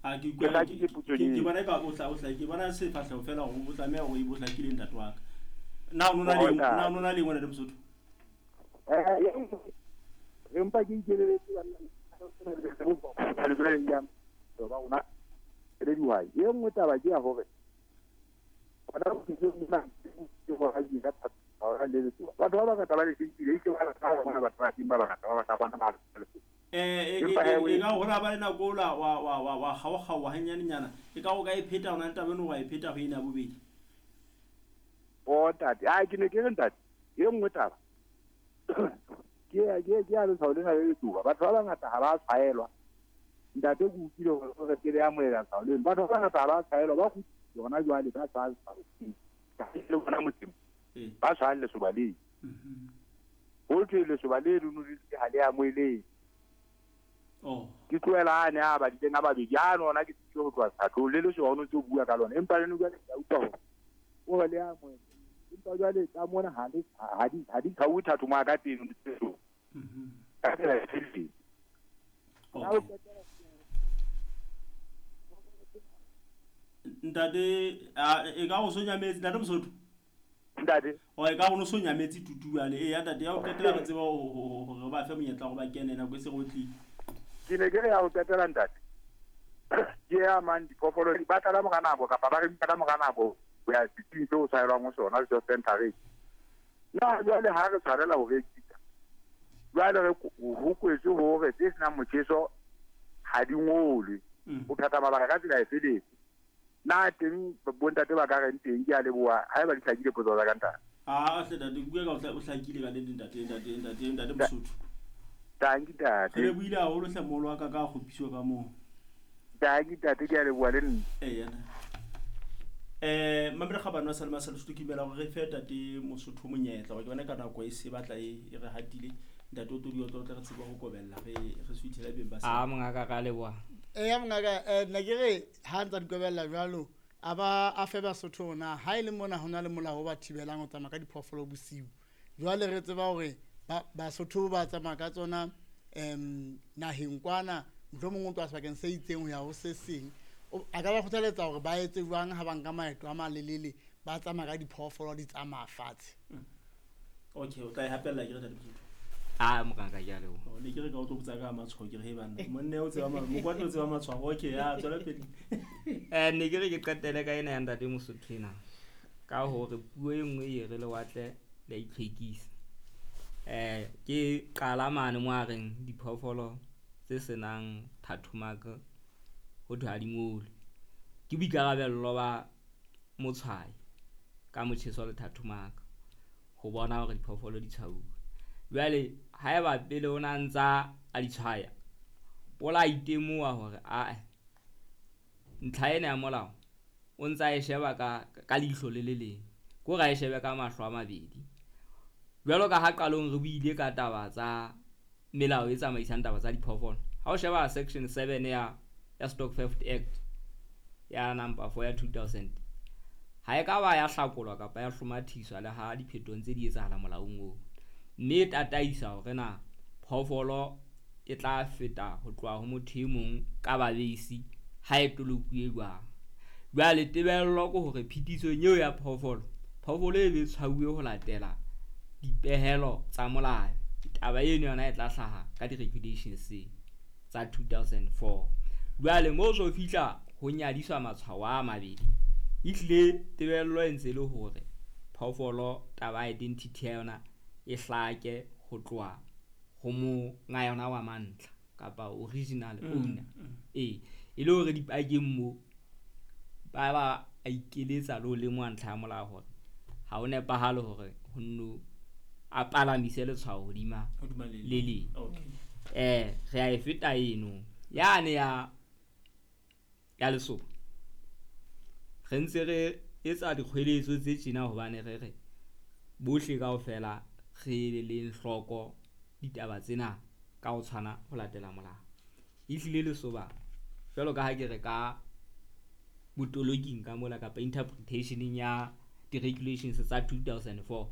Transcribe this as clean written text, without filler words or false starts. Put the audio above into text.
A ke Ke hlakile potsong ke eo. bona ka o tla o tla ke bona sefahleho fela hore o tlameha hore e bo hlakile ntate wa ka. Na o nona le Oh, ntate. na o nona le ngwana Mosotho? Re mpa ke ikeleletse banna ba rona re le dihwai. E nngwe taba ke ya hore hona mona ke hore ka thata le letsoba. Batho ba bangata ba le shebile, e ke ba rata bona batho ba teng ba bangata ba batla bona ba letsoba. Empa he E ka hore ba le nako ola wa wa wa wa kgaokgaoha hanyanenyana. E ka o ka e pheta hona taba eno wa e pheta ho ena ya bobedi. O ntate, a ke ne ke re ntate, e nngwe taba ke ya letshwao lena le letsoba. Batho ba bangata ha ba tshwaelwa. Ntate ke utlwile hore o re pele ya moela letshwao leno. Batho ba bangata ha ba tshwaelwa, ba kgutlile hona jwale ba tshwaya letshwao leo. Le bona motseng, ba tshwaya lesoba leo. Ho thwe lesoba le leno le ha le amohelehe. Ke tlohela a ne a badileng a babedi, a no ona ke tsile ho tloha sethathong le lesoba o no ntse o bua ka lona, empa le no jwale ke a utlwa hore o re le amohele. Empa jwale tsa mona ha le ha di ha di tshauwe thatho mo ka teng di tseo. Ka tsela e felletseng. Okay. Ntate e ka go sonyametse ntate Mosotho. Ntate. O e ka go no sonyametse tutuane. E ya ntate ya o qetela re tseba hore ba fe monyetla gore ba kene nako e se go tlile. Ke ne ke re ya ho qetela ntate. Ke ya mang diphoofolo ba tla ka mora nako kapa ba re ka mora nako ho ya setsing seo o tshwarelwang ho sona se center. Na jwale ha re tshwarela ho rekisa, jwale re ho kwetswe hore tse senang motjheso ha di ngolwe. Ho phetha mabaka ka tsela e feletse. Na teng bontate ba ka reng teng? Ke a leboha haeba di hlakile potso tsa ka ntate. A hle ntate, bua ka o hlakile ka nnete ntate, ntate, ntate, ntate Mosotho. Tanki ntate. Re lebohile haholo hle moholo wa ka ka kgopiswa ka moo. Tanki ntate, ke a leboha le nna. Eya. Mamela kgabane wa Salema sa Lesotho, ke dumela hore re fe tate Mosotho monyetla hore ke bona ka nako e se batla e re hatile. Ntate o todi o tlo re tsebe ho kobella re suithela beng ba sa. A mongaka ka leboha. Eya mongaka, nna ke re ha ntsa di kobella jwalo a ba a fe Basotho na ha e le mona ho na le molao o ba thibelang ho tsamaya ka diphoofolo bosiu. Jwale re tseba hore Basotho ba tsamaya ka tsona naheng kwana, mohlomong o tloha sebakeng se itseng ho ya ho se seng. A ka ba kgothaletsa hore ba etse jwang ha ba nka maeto a malelele ba tsamaya ka diphoofolo di tsamaya fatshe? Okay, o tla e hapella ke re ntate Mosotho. A mongaka ke a leboha. Ne ke re ka o tlo botsa ka matshwao, ke re he banna monna o tseba mokwatlo o tseba matshwao. Okay, ya tswela pele. Ne ke re ke qetele ka ena ya ntate Mosotho ena ka hore puo e nngwe e re lewatle le a itlhwekisa. Ke qala mane mo a reng diphoofolo tse senang tattoo ho thwe ha di ngolwe. Ke boikarabello ba motshwayi ka motjheso le tattoo ho bona hore diphoofolo di tshwauwe. Jwale haeba pele o na ntsa a di tshwaya, o la itemoha hore ae ntlha ena ya molao o ntsa e sheba ka leihlo le le leng, ke hore a e shebe ka mahlo a mabedi. Jwalo ka ha qalong re buile ka taba tsa melao e tsamaisang taba tsa diphoofolo, ha o sheba section 7 ya Stock Theft Act ya number 4 ya 2000, ha e ka ba ya hlakolwa kapa ya hlomathiswa le ha diphetong tse di etsahala molaong oo, mme e tataisa hore na phoofolo e tla feta ho tloha ho motho e mong ka babeisi ha e tolokuwe jwang. Jwale tebello ke hore phetisong eo ya phoofolo, phoofolo e be tshwauwe ho latela dipehelo tsa molao. Taba eno yona e tla hlaha ka di-regulations tsa 2004. Jwale moo so fihla ho nyadiswa matshwao a mabedi, ehlile tebello e ntse le hore phoofolo taba identity ya yona e hlake ho tloha ho monga yona wa mantlha kapa original owner. E le hore dipakeng mo ba ba a ikeletsa le ho lemoha ntlha ya molao hore ha ho nepahale hore ho nno a palamise letshwao hodima le leng. Re a e feta eno yane ya lesoba. Re ntse re etsa dikgweletso tse tjena hobane re re bohle kaofela re leng hloko ditaba tsena ka ho tshwana ho latela molao. Ehlile lesoba jwalo ka ha ke re ka botoloking ka mola kapa interpretationeng ya di-regulations tsa 2004.